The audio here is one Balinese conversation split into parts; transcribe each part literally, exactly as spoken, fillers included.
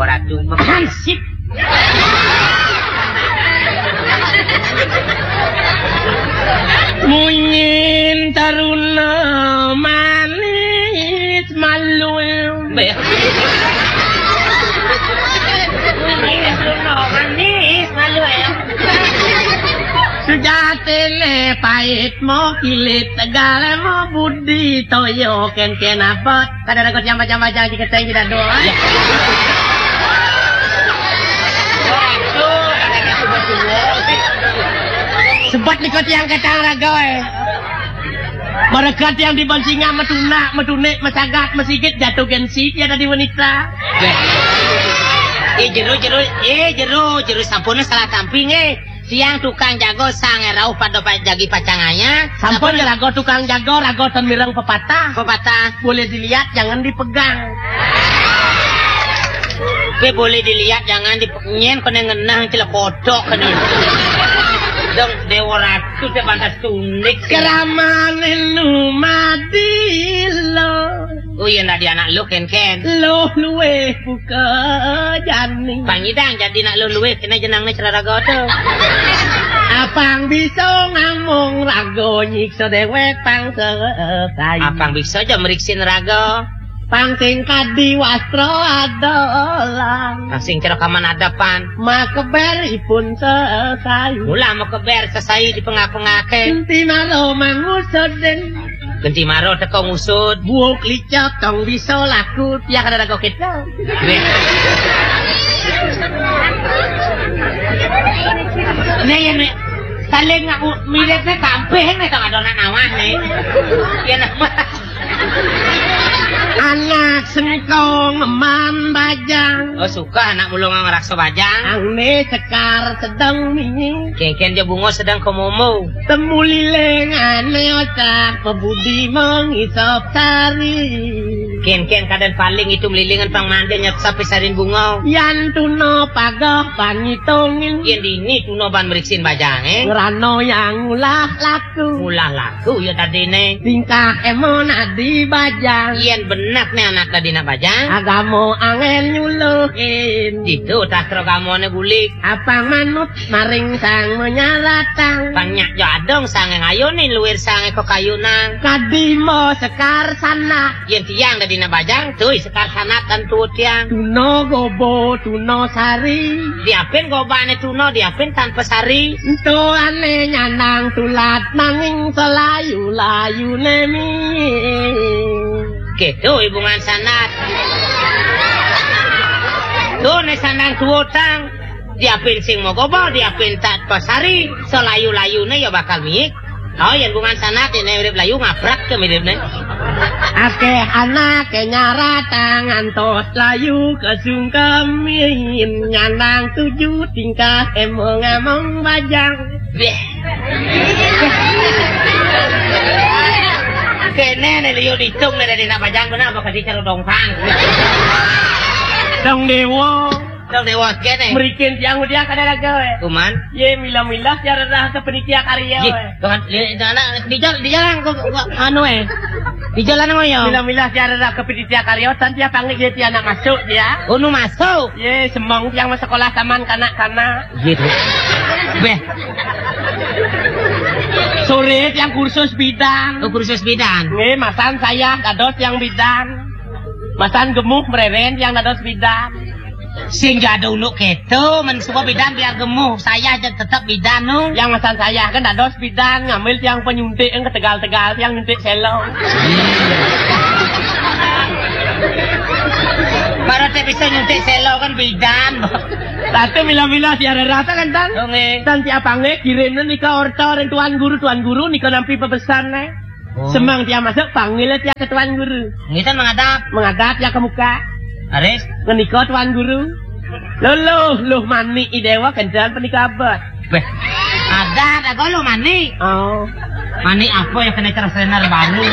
Ratu hansip. Munyin taruna manis malu. Mbak. Munyin taruna manis malu ya. Sujatine pait mo kilit, tegale mo budi toyo ken-ken abot. Kada rago tiang bajang-bajang di keteng tidak doa. Ya. Waduh, ada ragu betul. Sebab niko tiang ketang rago, eh. Mereka tiang di bansingan metunak, metunik, mesagat, mesigit, jatuh gengsi tiada di wanita. Beh. Eh, jero, jero, eh, jero, jero, sampun salah tamping, eh. Tiang tukang jago sange rauh pada pa-, jagi pacanganya. Sampun. Sampun ya rago tukang jago, rago ten mireng pepatah. Pepatah. Boleh dilihat, jangan dipegang. Be boleh dilihat, jangan dipe-, nyen kena ngenah celekotok kena. Dong Dewa Ratu te pantas tunik. Keramane lumadi lo. Oh iya, ndak di anak lu, Ken, Ken. Lu luweh buka jani. Pangidang jadi nak lu luweh, kena jenang ni ceraraga tu. Apang bisa ngamung raga nyiksa dewek pang sesai. Apang bisa aja meriksin raga. Pang sing kadi wastra adalah. Pang sing cerakaman adapan. Makeber ipun sesai. Mula makeber sesai di pengak-pengaken. Enti maro mangusudin. Genti maro teko ngusut. Buuk licak tong bisa laku tiak ada raga kita. Weh. Nih ya, nih. Saling ngaku miripnya tampil nih, tong ada anak nawah nih. Ya nama. Anak sengkong man bajang. Oh, suka anak mulung ngeraksa bajang. Ang ne sekar sedang minyi. Kengken dia bunga sedang komomo. Temu lilingane otak pebudi mengisap sari. Ken-ken kadan paling itu melilingan pang mande nyep sapi sarin bunga. Yan tuna pagah pangitungin. Yen dini tuna ban meriksin bajang, eh? Ngerano yang ulah laku. Ulah laku ya tadine. Tingkah emon adi bajang. Yen benak ne anak tadi nak bajang. Agama angen nyuluhin. Itu tak agamane bulik. Apang manut maring sang menyaratang. Banyak jo adong sang ngayonin luwir sang eko kayunang. Kadimo sekar sanat. Yen tiang dadi nak bajang, tui sekar sanat tan tuut tiang. Tuna gobo, tuna sari. Diapin gobane tuna, diapin tanpa sari. Ento ane nyanang tulat nanging selayu-layu nemi. Gitu hubungan sanat. Tuh ne sandang tuutang. Diapin sing mogobo, diapin tak pasari, selayu-layune ya bakal miik. Oh, yen bungan sanat ini mirip layu ngaprak ke miripne. Akeh anak ke nyaratang antos layu kesungkemin nyanang tuju tingkah emong-emong bajang. Beh. Kene ne liu ditung ne dari nak bajang benar apa kasih cara dongkang. Dong dewa. Dong dewa kene. Merikin tiang udah kada raga, eh. Kuman. Ye, milah-milah cara dah ke penitia karya, ye, eh. Tuhan, ye, itu anak di jalan, di jalan kok, kok, anu, eh. Di jalan ngoyo. Milah-milah cara dah ke penitia karya, tan tiap panggil ye tiang nak masuk dia. Unu masuk. Ye, semong tiang masuk sekolah taman kanak-kanak. Gitu. Beh. Sore tiang kursus bidan. Oh, kursus bidan. Nggih, masan saya dados tiang bidan. Masan gemuh mereren tiang dados bidan. Sing jado uluk keto, men semua bidan biar gemuh. Saya aja tetap bidan, nu. Yang masan saya kan dados bidan, ngambil tiang penyuntik yang ketegal-tegal, tiang nyuntik selong. Baru tak bisa nyuntik selong kan bidan. Satu mila-mila tiada rasa kan, Tan? Oh, nggih. Tan tiap panggil kirim nika orta ring tuan guru, tuan guru nika nampi pepesan, eh. Oh. Semang tiang masuk, panggil tiang ke tuan guru. Nggih, Tan, menghadap. Menghadap tiang ke muka. Aris. Ngenika tuan guru. Luluh, luh manik i dewa kencan penika abot. Beh. Ada, ada golo manik. Oh. Manik apa yang kena cerah senar baru?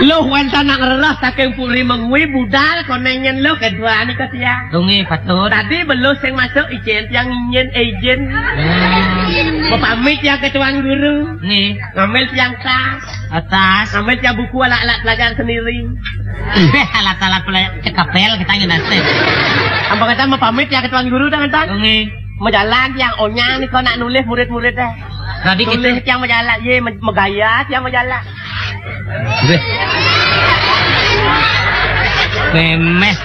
Luh wénten nak ngrereh saking puri Mengwi budal koneng nyén luh kedua nika tiang. Nggih, patut. Tadi beluh sing masuk izin tiang nyén izin. Hmm. Mapamit tiang ke tuan guru. Nggih. Ngambil tiang tas. Atas. Ngambil tiang buku alat-alat pelajar sendiri. Beh, alat-alat pelajar cekapel kita ngene. Apa kata mapamit tiang ke tuan guru dah ngentan? Nggih. Majalan tiang onyang nika nak nulis murid-murid deh. Tadi tulis kita tiang majalan, ye me-, megaya tiang majalan. Weh. Memeh.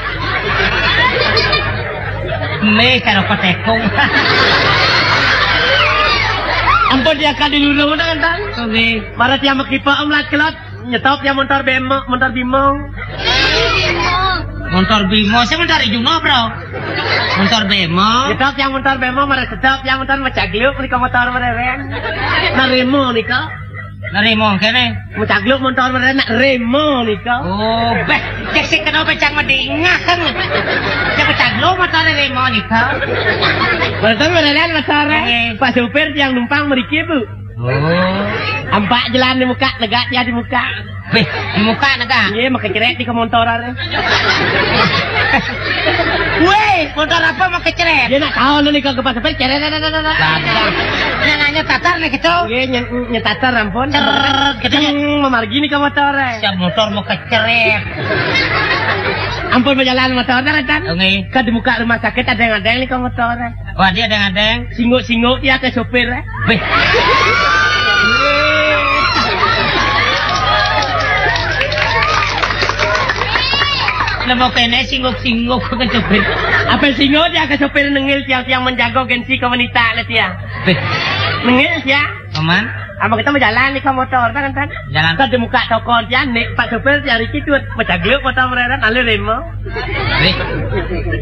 Meh karo petekung. Ampun dia kadi lurung ngentan. Nggih. Mara tiang mekipa om lat kelot. Nyetop ya montor bemo, montor bimo. Montor bimo, saya montor Juno, bro. Montor bemo. Nyetop ya montor bemo, mara setop ya montor mecagluk nika motor mereren. Narimo nika. Narimo kene. Mecagluk motor mereren nak remo nika. Oh, beh, cek sik kena pecang medingah kan. Ya mecagluk motor remo nika. Motor mereren motor. Nggih. Pak supir yang numpang meriki, Bu. Oh. Ampak jalan di muka, negak dia di muka. Weh, di muka negak? Iya, makeceret di kemontoran. Weh, motor apa makeceret? Dia nak tahu nih kalau ke pasar ceret, dah, dah, dah, dah. Yang nanya tatar nih gitu. Iya, nyetatar ampun. Ceret, gitu ya. Ceng, memargi nih ke motor. Siap motor makeceret. Ampun berjalan motor, dah, kan? Nggih. Ke di muka rumah sakit ada yang ada yang nih ke motor. Wah, dia ada yang ada yang. Singuk-singuk dia ke supir, eh. Weh. Nemu kene singuk-singuk ke supir. Apa singuk dia ke supir nengil tiang-tiang menjaga gengsi ke wanita lah tiang. Weh. Nengil tiang. Paman. Apa kita mau jalan nih ke motor, kan, kan? Jalan. Ke di muka toko tiang, nih, Pak supir tiang Riki tuh, mecagluk motor mereren, alih remo. Weh.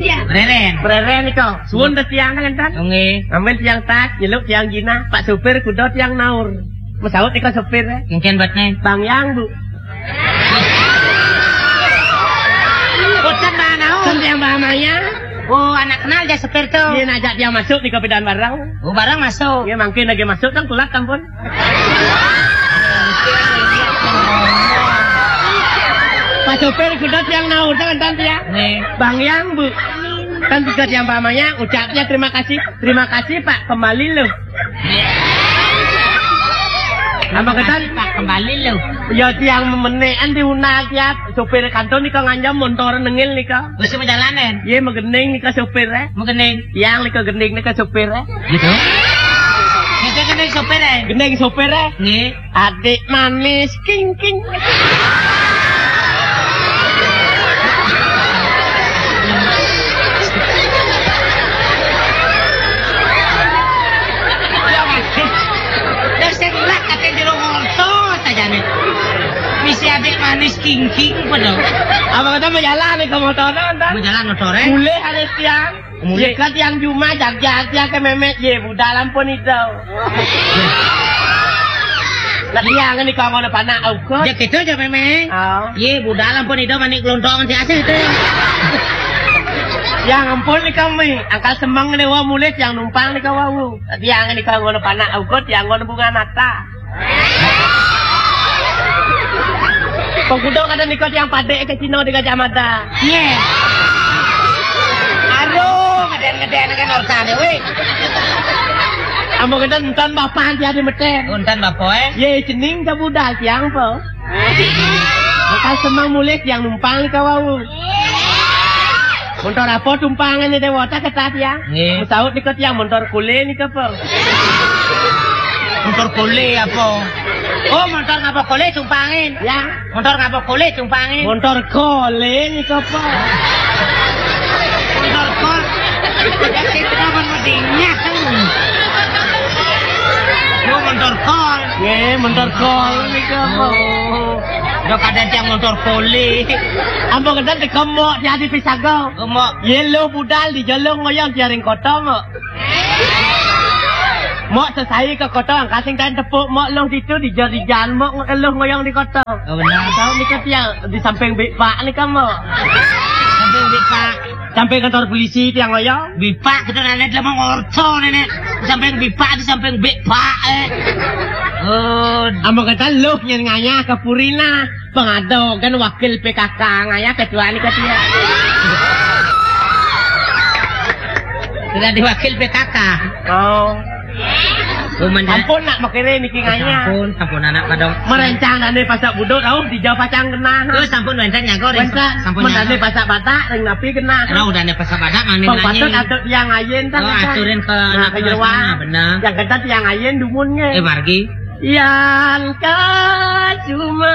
Iya. Mereren. Mereren nih kok. Suwun dah tiang, kan, kan? Nggih. Ambil tiang tas, nyeluk tiang jinah, Pak supir kuda tiang naur. Mesaut nih kok supir, eh. Mungkin buatnya. Bang Yang, Bu. Boten, Mbah, naon? Kan tiang Mbah Maya. Oh, anak kenal ya supir tuh. Iya, ngajak dia masuk di kopidan barang. Oh, barang masuk. Iya, mungkin lagi masuk kan kulat ampun. Pak supir kuda tiang naur kan tante ya. Nih. Bang Yang, Bu. Kan juga tiang Mbah Maya ucapnya terima kasih. Terima kasih, Pak. Kembali loh. Apa ketan? Pak, kembali lho. Ya tiang memenekan diunal tiap supir kantor nika nganjam motor nengil nika. Wis menjalanen. Ye megening nika supir eh. Megening. Tiang nika gening nika supir eh. Gitu. Kita gening supir eh. Gening supir eh. Nggih. Adik manis king king. Terus sing lak kate jero motor sajane. Misi adik manis kingking padha. Apa kata mau jalan nih ke motor nonton? Mau jalan motor eh? Mulai ada tiang. Mulai. Ye kan tiang Juma jagjag tiang ke memet ye budal ampun itu. Nah tiang ni kau ngono panak ukur. Ya gitu aja memeng. Oh. Ye budal ampun itu manik kelontong si asih itu. Yang ampun ni kami angkat semang ni wau mulai tiang numpang ni kau wau. Tiang ni kau ngono panak ukur tiang ngono bunga nata. Pengkudo kada nikot yang padek ke Cina di Gajah Mada. Ye. Aduh, ngeden-ngeden kan urusan we. Amun ngeden entan bapak dia di meten. Entan bapak eh. Ye cening ke budal tiang po. Bakal semang mulih tiang numpang ke wau. Montor apa tumpangan ni dewata kata tiang? Nggih. Saut nikot tiang montor kule nikot po. Montor kole apa? Oh, montor ngapa kole tumpangin? Ya. Montor ngapa kole tumpangin? Montor kole ni apa? Montor kol. Ya kita kan medingnya. Lu montor kol. Ye, montor kol ni apa? Oh. Udah kadang tiang montor kole. Ambo kadang dikemok jadi pisago. Kemok. Ye lu budal di jalung ngoyong jaring kota mo. Mok sesai ke kota angkat sing kain tepuk mok long situ di jari jalan mok ngeluh ngoyong di kota. Oh benar. Tahu ni kan dia di samping bik pak ni kan mok. Samping bik pak. Samping kantor polisi tiang ngoyong. Bik pak kita nenek dia mau ngorco nenek. Di samping bik pak di samping bik pak eh. Oh. Ambo kata lu nyenganya ke Purina. Pengado kan wakil P K K ngayah ketua ni ketua. Sudah diwakil P K K. Oh. Sampun nak makere niki ngayah. Sampun, sampun anak kadang. Merencang dane pasak budut, au, dija pacang genah. Oh, sampun rencang nyago, rencang. Sampun nyago. Dane pasak batak, ring napi genah. Lah, udah ne pasak batak, mangke nanya. Patut atur tiang ayin, tah. Oh, aturin ke anak jeroan. Benar. Yang ketat tiang ayin dumun nge. Eh, margi. Yang kacuma.